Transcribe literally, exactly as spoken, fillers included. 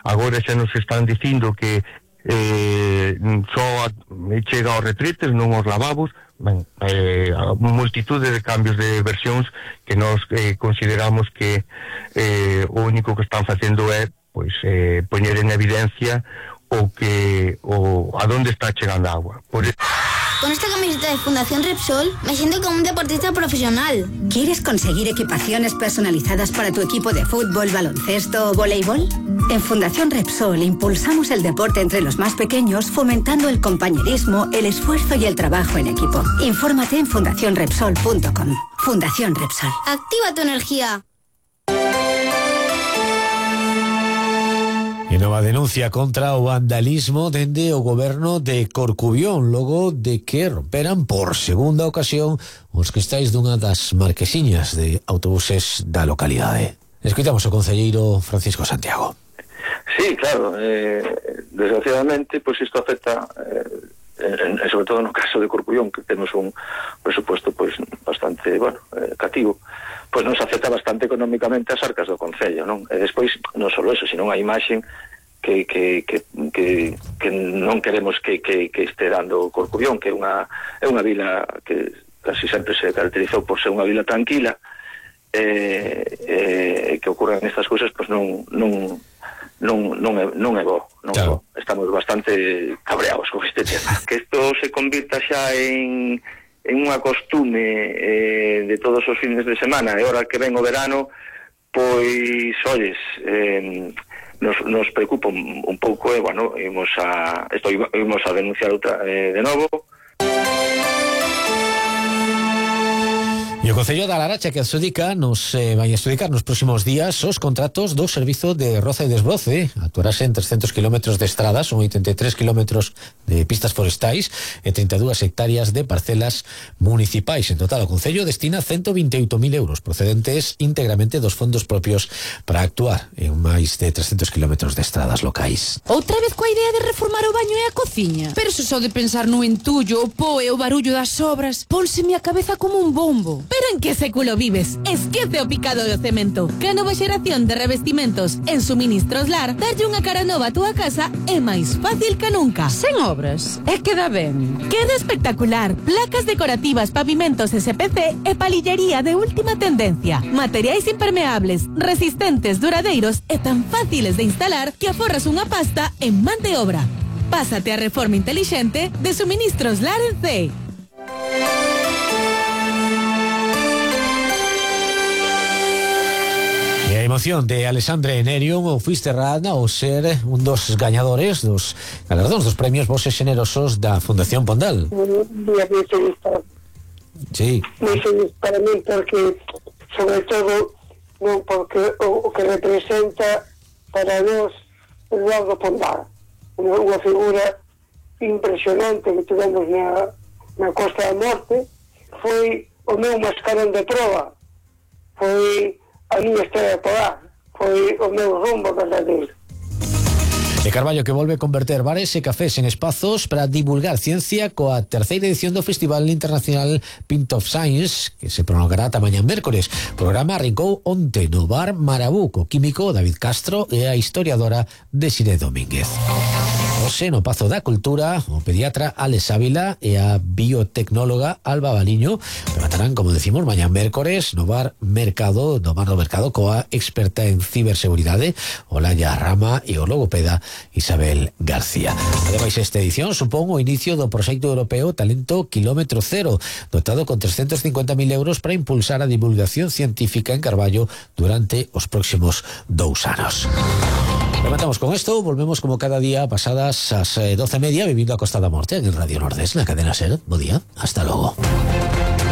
agora xa nos están dicindo que eh, só chega aos retretes, non aos lavabos. Ben, eh, a multitude de cambios de versións que nós eh, consideramos que eh, o único que están facendo é pois eh, poñer en evidencia o que o a donde está chegando a agua. Por eso... Con esta camiseta de Fundación Repsol me siento como un deportista profesional. ¿Quieres conseguir equipaciones personalizadas para tu equipo de fútbol, baloncesto o voleibol? En Fundación Repsol impulsamos el deporte entre los más pequeños, fomentando el compañerismo, el esfuerzo y el trabajo en equipo. Infórmate en fundación repsol punto com. Fundación Repsol. Activa tu energía. E nova denuncia contra o vandalismo dende o goberno de Corcubión, logo de que romperan por segunda ocasión os cristais dunha das marquesiñas de autobuses da localidade. Escoitamos o concelleiro Francisco Santiago. Sí, claro, eh, desgraciadamente, pois pues isto afecta, eh, en, sobre todo no caso de Corcubión, que temos un presupuesto pois pues, bastante, bueno, eh, cativo, pois nos afecta bastante económicamente as arcas do Concello, non? E despois, non só eso, sino a imaxen que, que, que, que, que non queremos que, que, que este dando Corcubión, que é unha, é unha vila que casi sempre se caracterizou por ser unha vila tranquila, eh, eh, que ocurran estas cousas, pois non, non, non, non, é, non é bo, non claro. É bo. Estamos bastante cabreados con este tema. Que isto se convirta xa en... en unha costume eh, de todos os fines de semana, e ahora que ven o verano, pois, olles, eh, nos, nos preocupa un, un pouco, e, eh, bueno, imos a, esto imos a denunciar outra, eh, de novo. E o Concello da Laracha que adxudica nos eh, vai adxudicar nos próximos días os contratos do servizo de roza e desbroce. Actuarase en trescentos kilómetros de estradas, son oitenta e tres kilómetros de pistas forestais e trinta e dúas hectáreas de parcelas municipais. En total, o Concello destina ciento vinte e oito mil euros procedentes íntegramente dos fondos propios para actuar en máis de trescentos kilómetros de estradas locais. Outra vez coa idea de reformar o baño e a cociña? Pero se só de pensar no entullo, o po e o barullo das obras, pónseme a cabeza como un bombo. Pero en que século vives? Esquece o picado do cemento. Que a nova xeración de revestimentos en Suministros Lar darlle unha cara nova a túa casa é máis fácil que nunca. Sen obras, e queda ben. Queda espectacular. Placas decorativas, pavimentos S P C e palillería de última tendencia. Materiais impermeables, resistentes, duradeiros e tan fáciles de instalar que aforras unha pasta en man de obra. Pásate a reforma inteligente de Suministros Lar en C. E a emoción de Alexandre Nerium o Fisterrad ao ser un dos gañadores dos galardóns dos premios Voces Generosos da Fundación Pondal. Un día moi feliz para sí. moi feliz para mí porque, sobre todo, non porque o, o que representa para nós Eduardo Pondal, unha, unha figura impresionante que tivemos na, na Costa da Morte, foi o meu mascarón de proa, foi a miña estrela polar, foi o meu rumbo verdadeiro. E Carballo que volve a converter bares e cafés en espazos para divulgar ciencia coa terceira edición do Festival Internacional Pint of Science, que se prolongará ata mañá mércores. O programa arrincou onte no bar Marabú, co químico David Castro e a historiadora Desiré Domínguez. Hoxe no Pazo da Cultura, o pediatra Alex Ávila e a biotecnóloga Alba Baliño rematarán, como decimos, mañá mércores no bar Mercado, no bar do Mercado, coa experta en ciberseguridade Olaya Rama e o logopeda Isabel García. Ademais, esta edición supón o inicio do proxecto europeo Talento Kilómetro Cero, dotado con trescentos cincuenta mil euros para impulsar a divulgación científica en Carballo durante os próximos dous anos. Rematamos con esto, volvemos como cada día pasadas as doce e media vivindo a Costa da Morte en el Radio Nordés, na cadena SER. Bo día, hasta logo.